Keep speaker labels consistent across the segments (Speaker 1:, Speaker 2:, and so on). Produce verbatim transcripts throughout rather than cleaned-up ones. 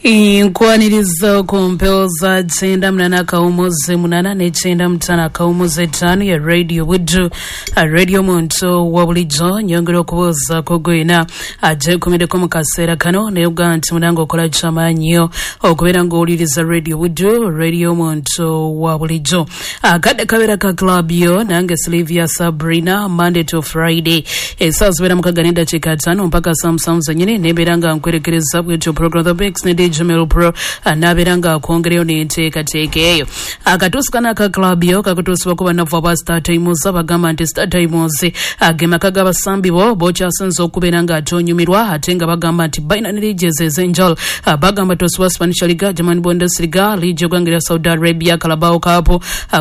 Speaker 1: Nkwaniriza ku mpewo za kyenda munana akawumuzi munana n'ekyenda mutaano akawumuzi etaano ya Radio Buddu, Radio Muntu wa bulijjo. Nyongera okubuuzaako gwena agyekumiddeko mu kaseera kano, naye ogaa nti munange okola kyamaanyi okubeera ng'owuliriza Radio Buddu, Radio Muntu wa bulijjo. Akadde kabeera ka club yo nange Sylvia Sabrina, Monday to Friday essaawa zibeera mukaaga n'eddakiika ttaano mpaka saa musanvu zennyini, nembeera nga nkwerekereza bwetyo program The Mix ne D J Mel Pro anabeera nga akwongereyo n'enteekateeka eyo. Akatuusi kano aka club yo kakutuusibwako bannavu aba Star Times, abagamba nti Star Times ge maka g'abasambi bo b'okyasinze okubeera nga atonyumirwa, ate nga bagamba nti balina ne liigies ez'enjawulo. Bagamba tosubwa Spanish Liga, German Bundesliga, liigi y'eggwanga lya Saudi Arabia, Carabao Cup,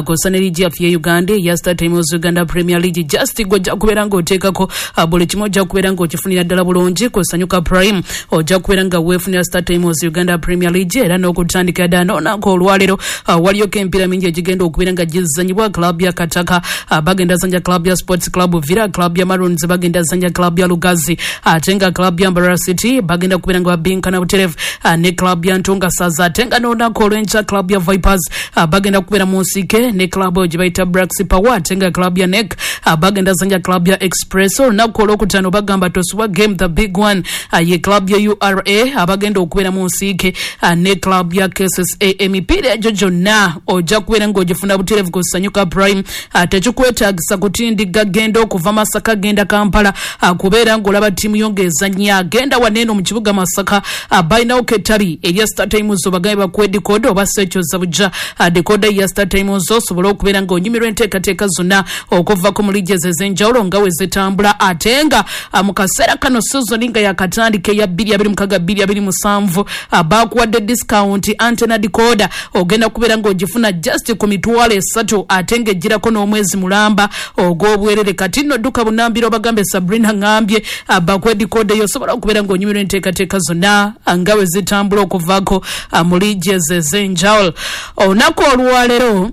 Speaker 1: kw'ossa ne liigi yaffe ye Uganda eya Star Times Uganda Premier League. Just gwe ojja kubeera ng'oteekako buli kimu, ojja kubeera ng'okifunira ddala bulungi ku Sanyuka Prime, ojja kubeera nga weefunira Star Times Uganda Premier League. Era n'okutandika ddala n'olunaku olwaleero waliyoko emipiira mingi egigenda okubeera nga gizanyibwa. Club ya Kataka bagenda zanya club ya Sports Club Villa, club ya Maroons bagenda zanya club ya Lugazi, ate nga club ya Mbarara City bagenda kubeera nga babinkana buterevu ne club ya Ntunga Saza, ate nga n'olunaku olw'enkya club ya Vipers bagenda kubeera mu nsike ne club gye bayita Brax Power, ate nga club ya N E C bagenda zanya club ya Express. Olunaku olwokutaano bagamba tosubwa game the big one ye club ya U R A abagenda okubeera mu nsike ne club ya K S S A. Emipiira egyo gyonna ojja kubeera ng'ogifuna buterevu ku Sanyuka Prime. Tekikwetaagisa kutindigga genda okuva Masaka genda Kampala kubeera ng'olaba ttiimu yo ng'ezannya. Genda waneeno mu kibuga Masaka, balinawo kettabi erya Star Times, obagambe bakuwe decoder oba sekyoza bujja decoder ya Star Times osobole okubeera ng'onyumirwa enteekateeka zonna okuvako mu liigies ez'enjawulo nga we zitambula. Ate nga mu kaseera kano season nga yakatandika eya bbiri abiri mukaaga bbiri abiri musanvu bakuwadde discount antenna decoder ogenda kubeera ng'ogifuna just ku mitwalo esatu, ate ng'egirako n'omwezi mulamba ogw'obwerere. Kati nno dduka bunambiro obagambe Sabrina ngambye bakuwe decoder yo osobola okubeera ng'onyumirwa enteekateeka zonna nga we zitambula okuvaako mu liigies ez'enjawulo. Olunaku olwaleero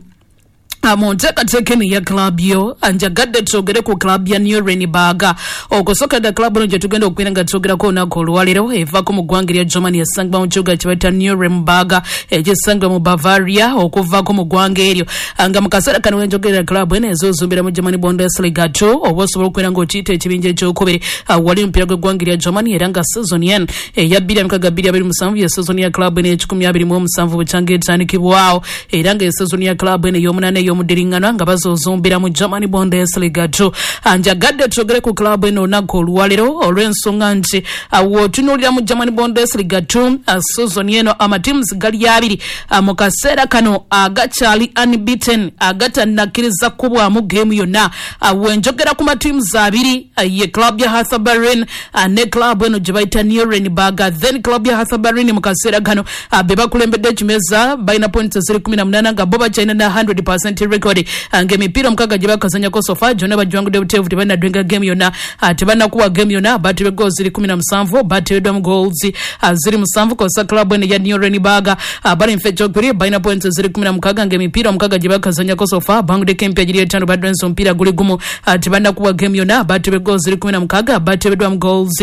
Speaker 1: mu nteekateeka eno ya club yo njagadde twogere ku club ya Nuremberg. Okusooka dda club eno gye tugenda okubeera nga twogerako olunaku olwaleero evaako mu ggwanga erya Germany, esangibwa mu kibuga kye bayita Nuremberg ekisangibwa mu Bavaria okuvaako mu ggwanga eryo. Nga mu kaseera kano we njogerera club eno ezozumbira mu Germany Bundesliga two, oba osobola okubeera ng'okiyita ekibinja ekyokubiri wali omupiira gw'eggwanga erya Germany. Era nga season eno eya bbiri mukaaga bbiri abiri musanvu ye season ya club eno ekikumi abiri mu omusanvu bukyanga etandikibwawo, era nga season ya club eno ey'omunaana ey'omuddiringana nga bazozumbira mu Germany Bundesliga two. Njagadde twogere ku club eno olunaku olwaleero olw'ensonga nti w'otunuulira mu Germany Bundesliga two season eno amatiimu gali abiri mu kaseera kano agakyali unbeaten, agatanakkiriza kubwamu geemu yonna. Wenjogera ku matiimu abiri ye club ya Hertha Berlin ne club eno gye bayita Nuremberg. Then club ya Hertha Berlin mu kaseera kano be bakulembedde ekimeza, balina points eziri kumi na munaana nga bo bakyalina na one hundred percent record, ng'emipiira omukaaga gye bakazanyako so far gyonna bagiwangudde buteevu, tebannadwenga game yonna, tebannakuwa game yonna, batebwe goals ziri kumi na musanvu, batebeddwamu goals ziri musanvu. Kosa club eno ya Nuremberg bali mu ekyokubiri, balina points ziri kumi na mukaaga ng'emipiira omukaaga gye bakazanyako so far banguddeko emipiira giri etaano, badwenze omupiira guli gumu, tebannakuwa game yonna, batebwe goals ziri kumi na mukaaga, batebeddwamu goals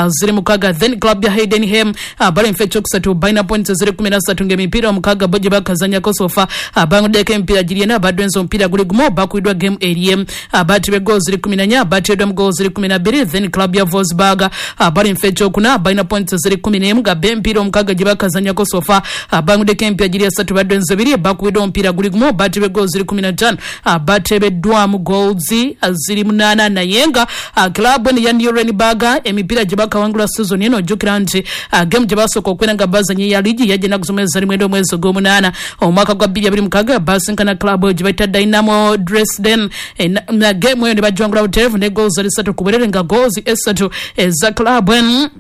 Speaker 1: ziri mukaaga. Then club ya Heidenheim bali mu ekyokusatu, balina points ziri kumi na ssatu ng'emipiira omukaaga bo gye bakazanyako so far banguddeko emipiira giri ena, badwenze omupiira guli gumu, bakubiddwa game eri batebwe goals ziri kumi na nnya, batebeddwamu goals ziri kumi na bbiri. Then club ya Wolfsburg bali mu ekyokuna, balina points ziri kumi n'emu nga emipiira omukaaga gye bakazanyako so far banguddeko emipiira giri esatu, badwenze ebiri, bakubiddwa omupiira guli gumu, batebwe goals ziri kumi na ttaano, batebeddwamu goals ziri munaana. Naye nga club eno ya Nuremberg emipiira gye bakawangula season eno, ojjukira nti game gye basooka okubeera nga bazanye ya liigi yajja ennaku z'omwezi zali mwenda omwezi ogw'omunaana omwaka gwa bbiri abiri mukaaga, basinkana club gye bayita Dynamo Dresden na game eyo ne bagiwangula butereevu ne goals zali ssatu ku bwerere, nga goals esatu eza club eno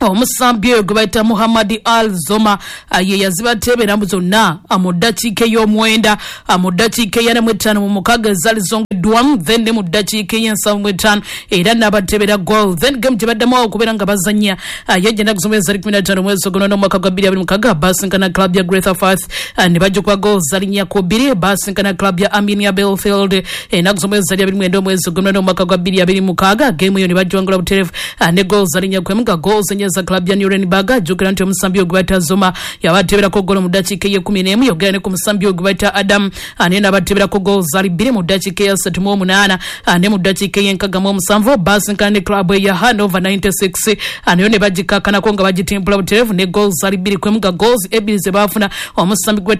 Speaker 1: omusambi oyo gwe bayita Muhammad Al Zoma ye yazibateebera zonna mu ddakiika ey'omwenda, mu ddakiika eyana mu etaano mu mukaaga ezaali zongeddwamu, then ne mu ddakiika ey'ensanvu mu etaano era n'abateebera goal. Then game gye baddamu awo okubeera nga bazannya yajja ennaku z'omwezi zali kumi na ttaano omwezi ogw'omunaana omwaka gwa bbiri abiri mukaaga, basinkana club ya Greuther Fürth ne bagikuba goal zali nnya ku bbiri. Basinkana club ya Arminia Bielefeld ennaku z'omwezi zali abiri mwenda omwezi ogw'omunaana omwaka gwa bbiri abiri mukaaga, game eyo ne bagiwangula butereevu ne goal zali nnya ku emu, nga goals ennya baazanyisa club ya Nuremberg. Jjukira nti omusambi ogwe bayita Zuma yabateeberako ggoolo mu ddakiika ey'ekkumi n'emu, yogera ne ku musambi ogwe bayita Adam naye n'abateeberako ggoolo zaali bbiri mu ddakiika eyasatu mu omunaana ne mu ddakiika ey'enkaaga mu omusanvu. Baasinkana ne club eya Hannover ninety-six nayo ne bagikakkanako nga bagitimpula butereevu ne ggoolo zaali bbiri ku emu, nga ggoolo ebbiri ze baafuna omusambi gwe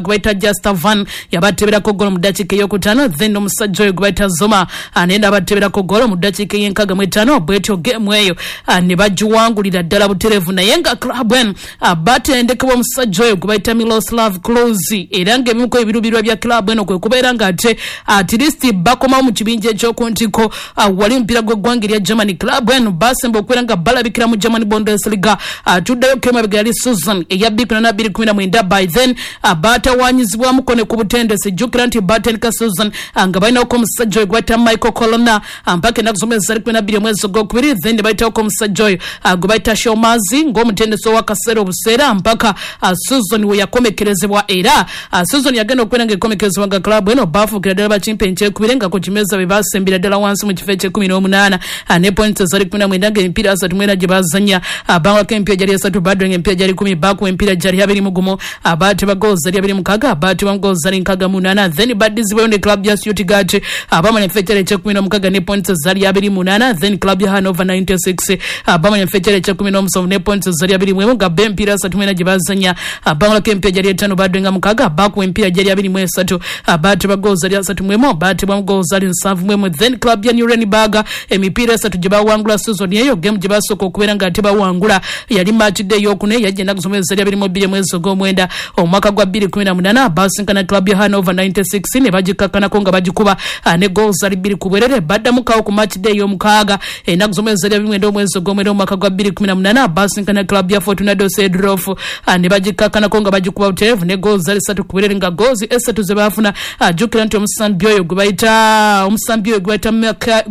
Speaker 1: bayita Justavan yabateeberako ggoolo mu ddakiika ey'okutaano, then omusajja oyo gwe bayita Zuma naye n'abateeberako ggoolo mu ddakiika ey'enkaaga mu etaano. Bwetyo geemu eyo ne bagiwangulira ddala butereevu, naye nga club eno batendekebwa omusajja oyo gwe bayita Miroslav Klose, era ng'ebimu ku ebiruubirirwa bya club eno kwe kubeera ng'ate at least bakomawo mu kibinja eky'oku ntikko wali omupiira gw'eggwanga erya Germany. Club eno basemba okubeera nga balabikira mu German Bundesliga tuddayo kemabega yali season eya bbiri kumi na mwenda. By then batawaanyizibwamuko ne ku butendesi. Jjukira nti batendeka season nga balinawoko omusajja oyo gwe bayita Michael Colonna mpaka ennaku z'omwezi zali kumi na bbiri omwezi ogwokubiri, then ne bayitawoko omusajja oyo gwe bayita Shomazi ng'omutendesi ow'akaseera obuseera mpaka season we yakomekerezebwa. Era season yagenda okubeera ng'ekomekerezebwa nga club eno baafuukira ddala bakimpe nkyekubire nga ku kimeza be basembera ddala wansi mu kifo eky'ekkumi n'omunaana ne points ezali kumi na mwenda, ng'emipiira asatu mu ena gye bazannya bangwako emipiira gyali esatu, badwenga emipiira gyali kumi, baakuba emipiira gyali abiri mu gumu, abaateba goals zali abiri mu mukaaga, abaatebwamu goals zali nkaaga mu munaana. Then baddizibwayo ne club ya Stuttgart abamala enfo ekyali eky'ekkumi n'omukaaga ne points zali abiri mu munaana. Then club ya Hannover ninety-six abamala enfo ekyali eky'ekkumi n'omusanvu ne points zali abiri mu emu, nga bo emipiira asatu mu ena gye bazannya bangwako emipiira gyali etaano, badwenga mukaaga, baakuba emipiira gyali abiri mu esatu, abaateba goals zali asatu mu emu, baatebwamu goals zali nsanvu mu emu. Then club ya Nuremberg emipiira esatu gye bawangula season eyo, game gye basooka okubeera nga tebawangula yali match day ey'okuna eyajja ennaku z'omwezi zali abiri mu bbiri omwezi ogw'omwenda omwaka gwa bbiri kumi na munaana. Basinkana club ya Hannover ninety-six ne bagikakkanako nga bagikuba ne goals zali bbiri ku bwerere. Baddamukawo ku match day ey'omukaaga ennaku z'omwezi zali abiri mwenda omwezi ogw'omwenda omwaka gwa bbiri kumi na munaana, basinkana club ya Fortuna Düsseldorf ne bagikakkanako nga bagikuba butereevu ne goals zali ssatu ku bwerere, nga goals esatu ze baafuna jjukira nti omusambi oyo gwe bayita omusambi oyo gwe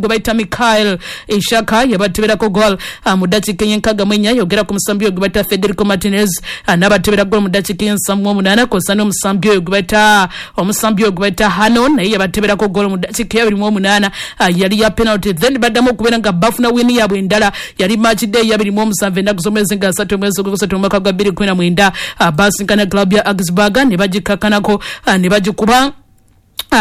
Speaker 1: bayita Mikael Ishaka yabateberako goal mu ddakiika ey'enkaaga mu ennya, yogera ku musambi oyo gwe bayita Federico Martinez n'abatebera goal mu ddakiika ey'ensanvu mu omunaana, kw'ossa n'omusambi oyo gwe bayita omusambi oyo gwe bayita Hano naye yabateberako goal mu ddakiika ey'abiri mu omunaana, yali ya penalty. Then baddamu okubeera nga bafuna win yaabwe endala, yali match day ey'abiri mu omusanvu ennaku z'omwezi nga asatu omwezi ogwokusatu omwaka gwa bbiri kumi na mwenda, basinkana club ya Augsburg ne bagikakkanako ne bagikuba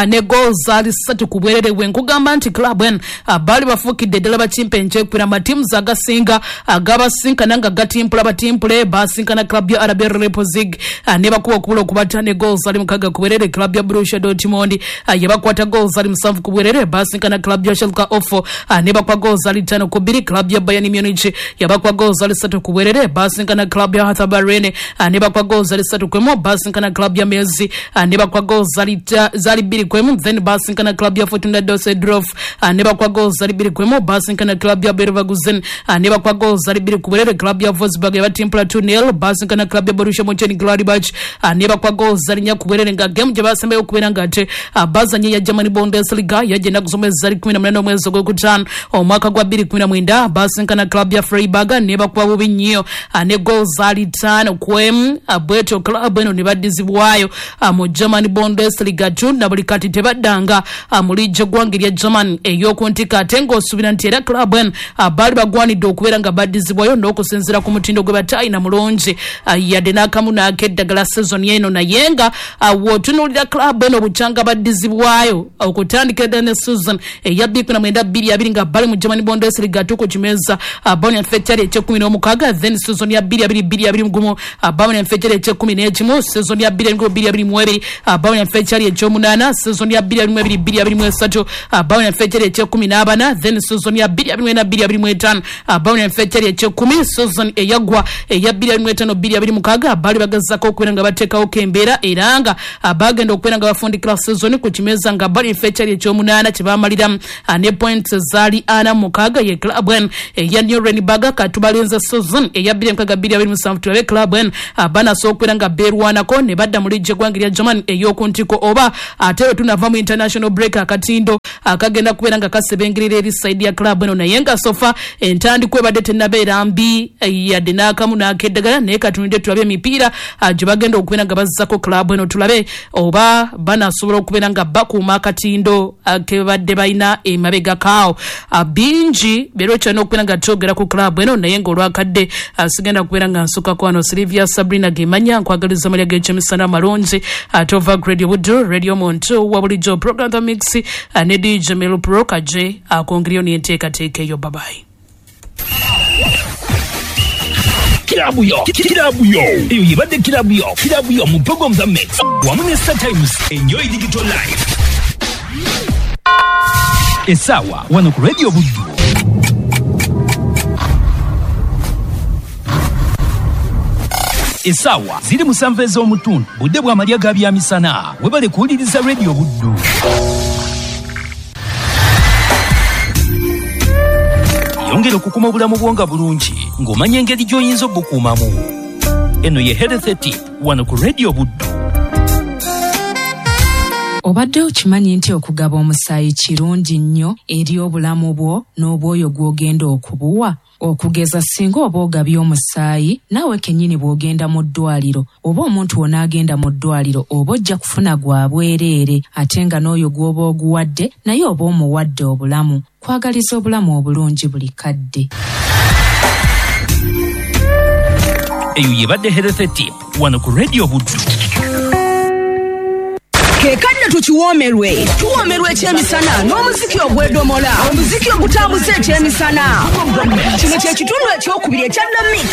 Speaker 1: ne goals zali ssatu ku bwerere. Bwe nkugamba nti club eno baali bafuukidde ddala bakimpe nkyekubira amatiimu agasinga agabasinkana nga gatimpula batimpule. Basinkana club ya R B Leipzig ne bakuba okubula okubata ne goals zali mukaaga ku bwerere. Club ya Borussia Dortmund yabakwata goals zali musanvu ku bwerere. Basinkana club ya Schalke zero four ne bakuba goals zali ttaano ku bbiri. Club ya Bayern Munich yabakuba goals zali ssatu ku bwerere. Basinkana club ya Hertha Berlin ne bakuba goals zali ssatu ku emu. Basinkana club ya Mainz ne bakuba goals zali bbiri ku emu. Then basinkana club ya Fortuna Düsseldorf ne bakuba goals zali bbiri ku emu. Basinkana club ya Leverkusen ne bakuba goals zali bbiri ku bwerere. Club ya Wolfsburg yabatimpula two nil. Basinkana club ya Borussia Mönchengladbach ne bakuba goals zali nnya ku bwerere, nga game gye basembayo okubeera nga ate bazanye ya German Bundesliga yajja ennaku z'omwezi zali kumi na munaana omwezi ogwokutaano omwaka gwa bbiri kumi na mwenda. Basinkana club ya Freiburg ne bakuba bubi nnyo ne goals zali ttaano ku emu. Bwetyo club eno ne baddizibwayo mu German Bundesliga two na buli kati tebaddanga mu liigi eggwanga erya German ey'oku ntikko, ate ng'osuubira nti era club eno baali bagwanidde okubeera nga baddizibwayo n'okusinziira ku mutindo gwe batayina mulungi yadde n'akamu n'akeddagala season eno. Naye nga w'otunuulira club eno bukyanga baddizibwayo okutandikira ddala ne season eya bbiri kumi na mwenda bbiri abiri nga bali mu German Bundesliga two ku kimeza bawona enfo ekyali eky'ekkumi n'omukaaga. Then season ya bbiri abiri bbiri abiri mu gumu bawona enfo ekyali eky'ekkumi n'ekimu. Season ya bbiri abiri bbiri abiri mu ebiri bawona enfo ekyali eky'omunaana. Season ya bbiri abiri mu ebiri bbiri abiri mu esatu bawona enfo ekyali eky'ekkumi n'abana. Then season ya bbiri abiri mu ena bbiri abiri mu etaano bawona enfo ekyali eky'ekkumi. Season eyaggwa eya bbiri abiri mu etaano bbiri abiri mukaaga baali bagezaako okubeera nga bateekawo embeera, era nga bagenda okubeera nga bafundikira season ku kimeza nga bali enfo ekyali ekyomunaana kye bamaliramu ne points zaali ana mukaaga. Ye club eno eya Nuremberg katubalinze season eya bbiri mukaaga bbiri abiri musanvu tulabe club eno banasobola okubeera nga beerwanako ne badda mu liigi eggwanga erya German ey'oku ntikko, oba ate Ate bwe tunava mu international break, akatindo akagenda kubeera nga kasebengerera eri side ya club eno. Naye nga so far entandikwa ebadde tennabeera mbi yadde n'akamu n'akeddagala, naye katunulidde tulabe emipiira gye bagenda okubeera nga bazzako club eno, tulabe oba banasobola okubeera nga bakuuma akatindo ke babadde balina emabega kaawo. Bingi beera okyalina okubeera nga twogera ku club eno, naye ng'olwakadde sigenda kubeera nga nsukako wano. Silivia Sabrina Gemanya, nkwagaliza amalya g'ekyemisana amalungi. Ate ova Radio Buddu, Radio Muntu wa bulijjo, program The Mix ne D J Melo Pro kaje akongeryo n'enteekateeka eyo. Babayi.
Speaker 2: Kilabu yo, kilabu yo, eyo yebadde kilabu yo, kilabu yo mu program The Mix wamu ne Star Times. Enjoy digital life. Esawa wano ku Radio Buddu. Esawa ziri musanvu ez'omutundu, budde bw'amalya ga byamisana. Webale kuwuliriza Radio Buddu. Yongera okukuma obulamu bwo nga bulungi ng'omanya engeri gy'oyinza obukuumamu. Eno ye Health Tip wano ku Radio Buddu.
Speaker 3: Obadde okimanyi nti okugaba omusaayi kirungi nnyo eri obulamu bwo n'obwoyo gw'ogenda okubuwa? Okugeza singa oba ogabye omusaayi, naawe kennyini bw'ogenda mu ddwaliro oba omuntu w'onaagenda mu ddwaliro oba ojja kufuna gwa bwereere, ate nga n'oyo gw'oba oguwadde naye oba omuwadde obulamu. Kwagaliza obulamu obulungi buli kadde.
Speaker 2: Eyo yebadde Health Tip wano ku Radio Buddu.
Speaker 4: Kekadde tukiwoomerwe, tuwoomerwe ekyemisana n'omuziki ogw'edomola, omuziki ogutambuza ekyemisana. Kino kye kitundu ekyokubiri ekya The Mix.